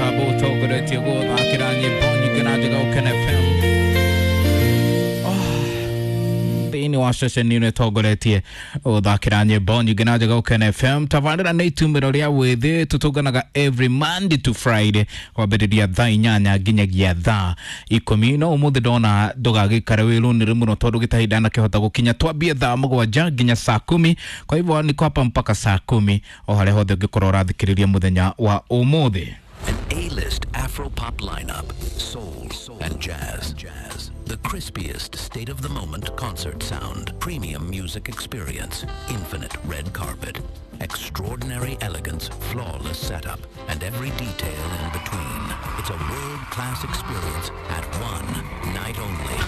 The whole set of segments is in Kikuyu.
Mũtambo ũtongoretie gũthakĩra nyĩmbo nyingĩ na njega Gũkena FM thĩinĩ wa ceceni ĩno ĩtongoretie gũthakĩra nyĩmbo nyingĩ na njega Gũkena FM. Tabarĩra nĩ itumĩro rĩa wĩthĩ, tũtũnganaga every Monday to Friday kwambĩrĩria thaa 8 nginyagia thaa 10. No ũmũthĩ ndona ndũgagĩikare wĩrũnĩre mũno tondũ gĩtahinda nakĩhota gũkinya, twambie thaa 7 nginya saa 10. Kwa hivyo niko hapa mpaka saa 10 o harĩa hothe ũngĩkorwo ũrathikĩrĩria mũthenya wa ũmũthĩ. An A-list Afro-pop lineup, soul and jazz. The crispiest state-of-the-moment concert sound, premium music experience, infinite red carpet, extraordinary elegance, flawless setup, and every detail in between. It's a world-class experience at one night only.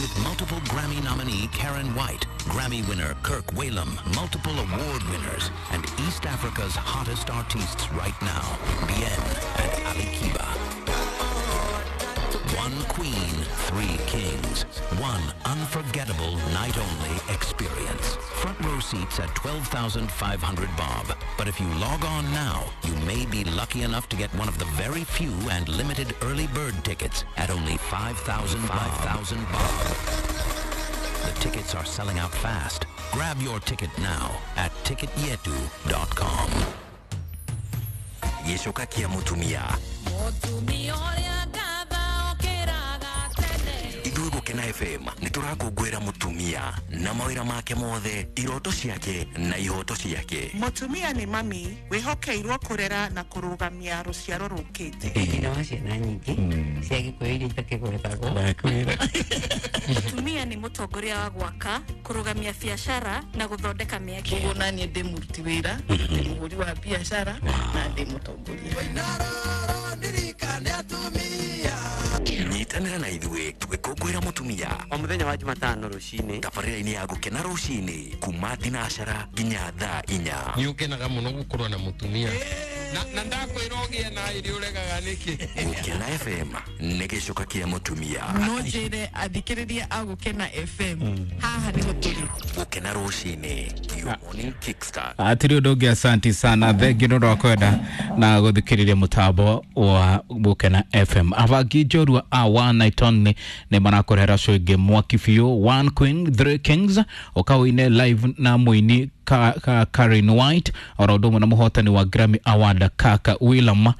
With multiple Grammy nominee Karen White, Grammy winner Kirk Whalum, multiple award winners, and East Africa's hottest artists right now, Bien and Ali Kiba. One queen, three kings. One unforgettable night-only experience. Front row seats at 12,500 bob. But if you log on now, you may be lucky enough to get one of the very few and limited early bird tickets at only 5,000 5,000 bob. The tickets are selling out fast. Grab your ticket now at ticketyetu.com. Gĩcoka kĩa mũtumia. Mũtumia ũrĩa ngatha okĩraga tene. Ithuĩ Gũkena FM nĩ tũrakũngũĩra mũtumia na mawĩra make mothe, iroto ciake na ihoto ciake. Mũtumia nĩ mami wĩhokeirwo kũrera na kũrũgamia rũciaro rũkĩte. Nyina wa ciana nyingĩ cia Gĩkũyũ iria itakĩgwetagwo. Mũtumia nĩ mũtongoria wa gwaka, kũrũgamia biacara na gũthondeka mĩeke. Koguo naniĩ ndĩ mũruti wĩra, ndĩ mũhũri wa biacara na ndĩ mũtongoria. Nyitanĩra na ithuĩ tũgĩkũngũĩra mũtumia o mũthenya wa Jumatano rũcinĩ tabarĩra-inĩ ya Gũkena rũcinĩ kuma thinacara nginya thaa 4. Nĩ ũkenaga mũno gũkorwo na mũtumia na ndakwĩra ũgĩe na ĩrĩ ũregaga nĩkĩ. Gũkena FM nĩ gĩcoka kĩa mũtumia. No njĩre athikĩrĩria a Gũkena FM, haha nĩho tũrĩ. Gũkena rũcinĩ, your morning kickstart. Atirĩ ũndũ ũngĩ, asanti sana, thengi nĩ ũndũ wa kwenda na gũthikĩrĩria mũtambo wa Gũkena FM. Abangi njorua a One Night Only nĩ marakũrehera show ĩngĩ mwaki biũ, One Queen Three Kings, ũkaũine live na mũini Karen White oro ũndũ ũmwe na mũhotani wa Grammy Award Kaka Willam,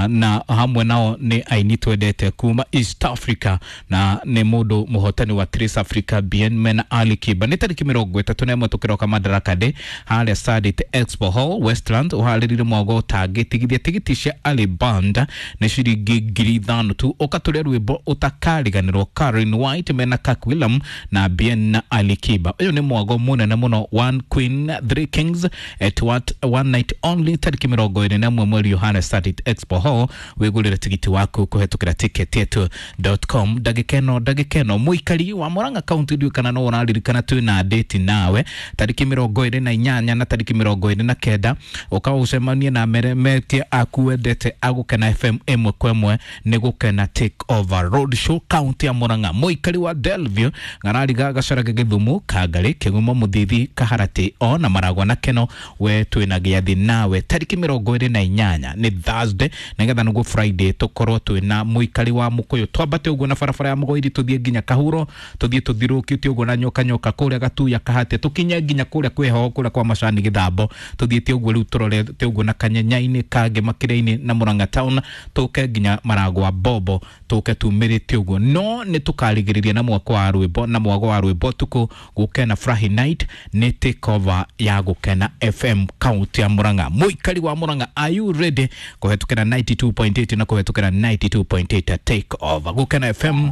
na hamwe nao nĩ aini twendete kuma East Africa na nĩ mũndũ mũhotani wa Trace Africa Bien mena Ali Kiba. Nĩ tarĩki 31 tũkĩroka Madaraka Day harĩa Sarit Expo Hall, Westland. Ũharĩrire mwago ũtangĩtigithia. Tigiti cia Ali Band nĩ ciringi 5,000 tu. Ũkatũrĩa rwĩmbo ũtakariganĩrwo, Karen White mena Kirk Willam na Bien na Ali Kiba. Ũyũ nĩ mwago mũnene mũno, One Queen Three Kings at what one night only, tarĩki 21 mweri harĩa Sarit Expo Hall. Wĩgũrĩre tigiti waku kũhetũkĩra ticketyetu.com. Ndagĩka ĩno, ndagĩka ĩno, mũikari wa Murang'a County, ndiũĩ kana no ũraririkana twĩna date nawe tarĩki 28 na tarĩki 29, ũka ũcemanie na meremetie aku wendete agũkena FM ĩmwe kwa ĩmwe. Nĩ Gũkena Take Over Road Show, county ya Murang'a. Mũikari wa Delview, Ngarariga, Gacarage, Gĩthumu, Kangarĩ, Kĩgumo, Mũthithi, Kaharatĩ ona Maragwa na Keno, we twĩna gĩathĩ nawe tarĩki 28, nĩ Thursday, nĩgetha nĩguo Friday tũkorwo twĩna mũikari wa Mũkũyũ. Twambate ũguo na barabara ya Mũgoiri, tũthiĩ nginya Kahuro, tũthiĩ tũthirũkĩte ũguo na nyoka nyoka kũrĩa Gatuya Kahate, tũkinye nginya kũrĩa kwĩho kũrĩa kwa Macani Gĩthambo, tũthiĩte ũguo rĩu tũrorete ũguo na Kanyenya-inĩ, Kangĩ, Makĩrĩa-inĩ na Murang'a town, tũke nginya Maragwa Bobo, tũke tumĩrĩte ũguo. No nĩ tũkarigĩrĩria na mwako wa rwĩmbo na mwago wa rwĩmbo tukũ Gũkena Furahi Night, nĩ take over ya Gũkena FM county ya Murang'a. Mũikari wa Murang'a, are you ready kũhetũkĩra 92.8 na kũhetũkĩra 92.8 take over Gũkena FM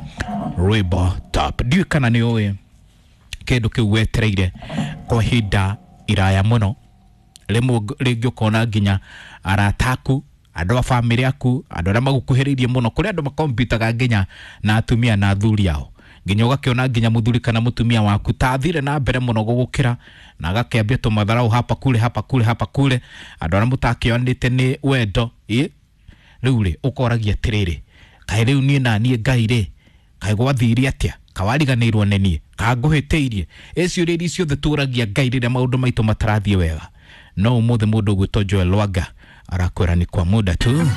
rwĩmbo top? Ndiũĩ kana nĩ ũĩ kĩndũ kĩu wetereire kwa ihinda iraya mũno. Rĩmwe rĩngĩ ũkona nginya arata aku, andũ a bamĩrĩ aku, andũ arĩa magũkuhĩrĩirie mũno, kũrĩ andũ makompitaga nginya na atumia na athuri ao, nginya ũgakĩona nginya mũthuri kana mũtumia waku ta athire na mbere mũno gũgũkĩra na agakĩambia tũmatharau hapa kule, hapa kule, hapa kule, andũ arĩa mũtakĩonete nĩ wendo ĩ. Rĩu rĩ, ũkoragia atĩrĩrĩ, kaĩ rĩu niĩ na niĩ Ngai rĩ, kaĩ gwathire atĩa? Kawariganĩirwo nĩ niĩ? Kangũhĩtĩirie? Ĩciũria iria ciothe tũragia Ngai rĩrĩa maũndũ maitũ matarathiĩ wega. No ũmũthĩ mũndũ ũgwĩtwo Joel Lwanga Arakwĩra ni kwa muda tu.